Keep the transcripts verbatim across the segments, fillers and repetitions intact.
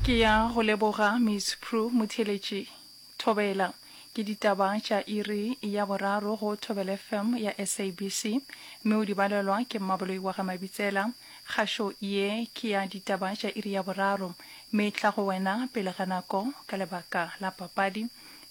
Ke ya go leboga Miss Prue Motheeletši. Thobela. Ke ditaba tša iri ya boraro go Thobela F M ya S A B C mme o di balelwa ke Mmaboloi wa ga Mabitsela. Kgašo ye ke ya ditaba tša iri ya boraro mme e tla go wena pele ga nako ka lebaka la papadi.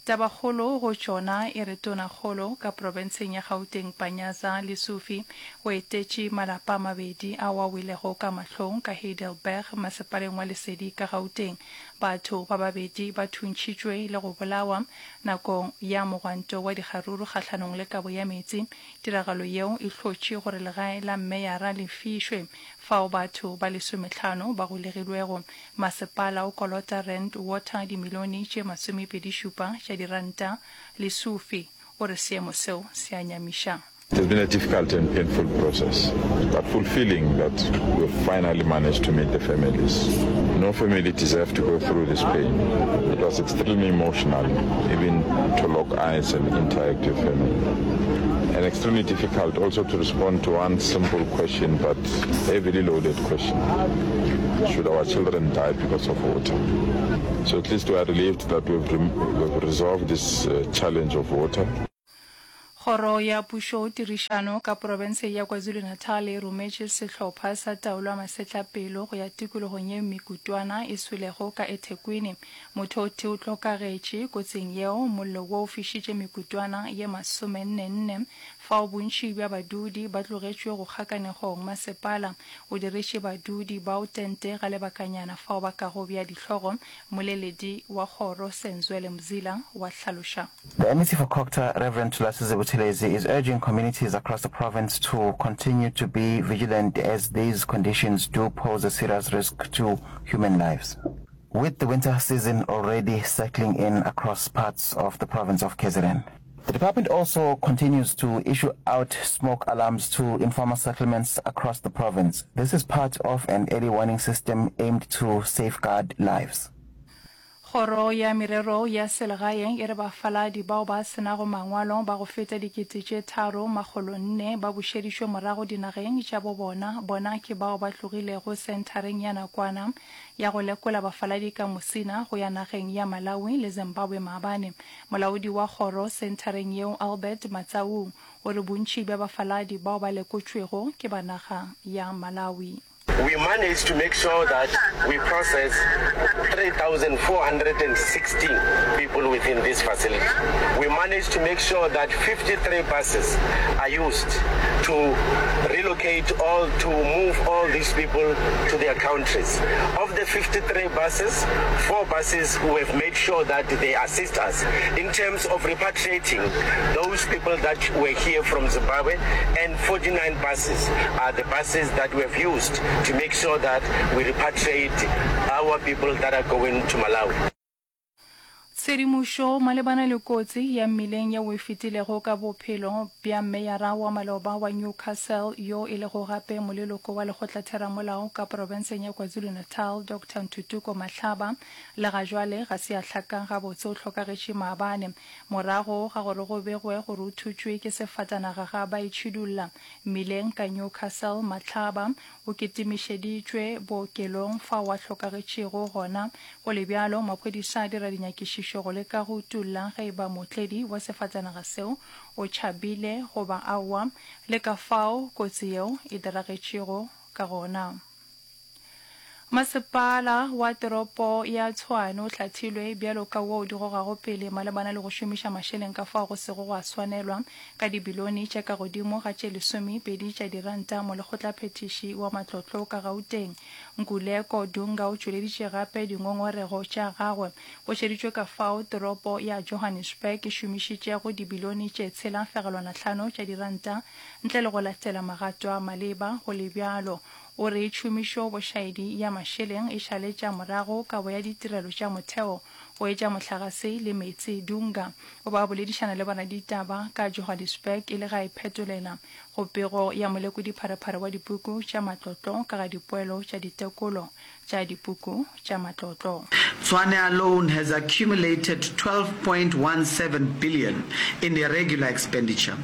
Tabakgolo go tšona e re Tonakgolo ka profenseng ya Gauteng Panyaza Lesufi o etetše malapa a mabedi ao a welego ka mahlong ka Heidelberg masepaleng wa Lesedi ka Gauteng. Batho ba babedi ba thuntšhitšwe le go bolawa nakong ya mogwanto wa dikgaruru kgahlanong le kabo ya meetse. Tiragalo yeo e hlotše gore legae la mmeyara le fišwe fao batho ba lesomehlano ba golegilwego. Masepala o kolota Rand Water dimilione tše masomepedi šupa tša diranta. Lesufi o re seemo seo se a nyamiša. It has been a difficult and painful process, but fulfilling that we've finally managed to meet the families. No family deserves to go through this pain. It was extremely emotional, even to lock eyes and interact with family. And extremely difficult also to respond to one simple question, but heavily loaded question. Should our children die because of water? So at least we are relieved that we've, we've resolved this, uh, challenge of water. Kgoro ya Pušo Tirišano ka profense ya KwaZulu-Natal e rometše sehlopha sa taolo ya masetlapelo go ya tikologong ye mekutwana e swelego ka eThekwini. Motho o tee o hlokagetše kotsing yeo, mollo wo o fišitše mekutwana ye masomenne-nne fao bontši bja badudi ba tlogetšwe go kgakanegong. Masepala o diretše badudi bao tente ga lebakanyana fao ba kago bja dihlogo, moleledi wa kgoro Senzwele Mzila wa hlaloša. The M E C for COGTA, Reverend Thulasizwe Buthelezi, is urging communities across the province to continue to be vigilant as these conditions do pose a serious risk to human lives. With the winter season already settling in across parts of the province of K Z N. The department also continues to issue out smoke alarms to informal settlements across the province. This is part of an early warning system aimed to safeguard lives. Kgoro ya Merero ya Selegae e re bafaladi bao ba se nago mangwalo ba go feta dikete tše tharo makgolo nne ba bušeditšwe morago dinageng tša bo bona. Bona ke bao ba tlogilego senthareng ya nakwana ya go lekola bafaladi ka Musina go ya nageng ya Malawi le Zimbabwe maabane. Molaodi wa kgoro senthareng yeo Albert Matsaung o re bontši bja bafaladi bao ba lekotšwego ke ba naga ya Malawi. We managed to make sure that we process three thousand four hundred and sixteen people within this facility. We managed to make sure that fifty-three buses are used to relocate all, to move all these people to their countries. Of the fifty-three buses, four buses we have made sure that they assist us in terms of repatriating those people that were here from Zimbabwe, and forty-nine buses are the buses that we have used to make sure that we repatriate our people that are going to Malawi. Tshedimošo malebana le kotsi ya mmileng yeo e fetilego ka bophelo bja meyara wa maloba wa Newcastle yo e lego gape moleloko wa lekgotlatheramolao ka profenseng ya KwaZulu-Natal Doctor Ntuthuko Mahlaba le ga jwale ga se a hlaka gabotse o hlokagetše maabane morago ga gore go begwe gore o thutšwe ke sefatanaga ga ba itšhidulla mmileng ka Newcastle. Mahlaba o kitimišeditšwe bookelong fao a hlokagetšego gona. Go le bjalo, maphodisa a dira dinyakišišo go leka go utolla ge e ba mootledi wa sefatanaga seo o tšhabile goba aowa, le ka fao kotsi yeo e diragetšego ka gona. Masepala wa toropo ya Tshwane o hlathilwe bjalo ka wo o di gogago pele malebana le go šomiša mašeleng ka fao go sego gwa swanelwa ka dibilione tša ka godimo ga tše lesomepedi tša diranta. Molekgotlaphethiši wa matlotlo ka Gauteng Nkuleko Dunga o tšweleditše gape dingongorego tša gagwe. Go šeditšwe ka fao toropo ya Johannesburg e šomišitšego dibilione tše tshela fegelwana hlano tša diranta ntle le go latela magato a maleba. Go le bjalo, o re tšhomišo bošaedi ya mašeleng e šaletša morago kabo ya ditirelo tša motheo go etša mohlagase le meetse. Dunga o be a boledišana le boraditaba ka Johannesburg e le ge a iphetolela go pego ya molekodipharephare wa dipuku tša matlotlo ka ga dipoelo tša ditekolo tša dipuku tša matlotlo. Tshwane alone has accumulated twelve point one seven billion in irregular expenditure,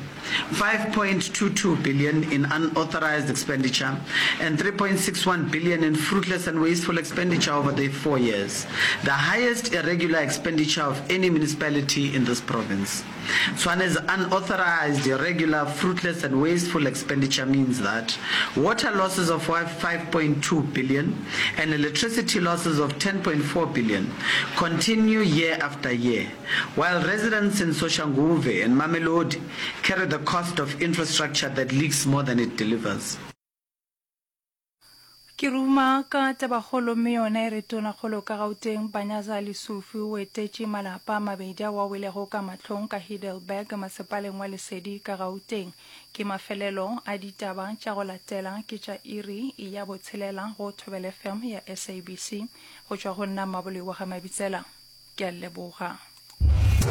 five point two two billion in unauthorised expenditure and three point six one billion in fruitless and wasteful expenditure over the four years, the highest irregular expenditure of any municipality in this province. Tshwane's unauthorised, irregular, fruitless and wasteful expenditure means that water losses of five point two billion and electricity losses of ten point four billion continue year after year, while residents in Soshanguve and Mamelodi carry the cost of infrastructure that leaks more than it delivers. Ke ruma ka tabakgolo mme yona e re Tonakgolo ka Gauteng Panyaza Lesufi o etetše malapa a mabedi ao a welego ka mahlong ka Heidelberg masepaleng wa Lesedi ka Gauteng. Ke mafelelo a ditaba tša go latela ke tša iri ya botshelela go Thobela F M ya S A B C. Go tšwa go nna Mmaboloi wa ga Mabitsela, ke a leboga.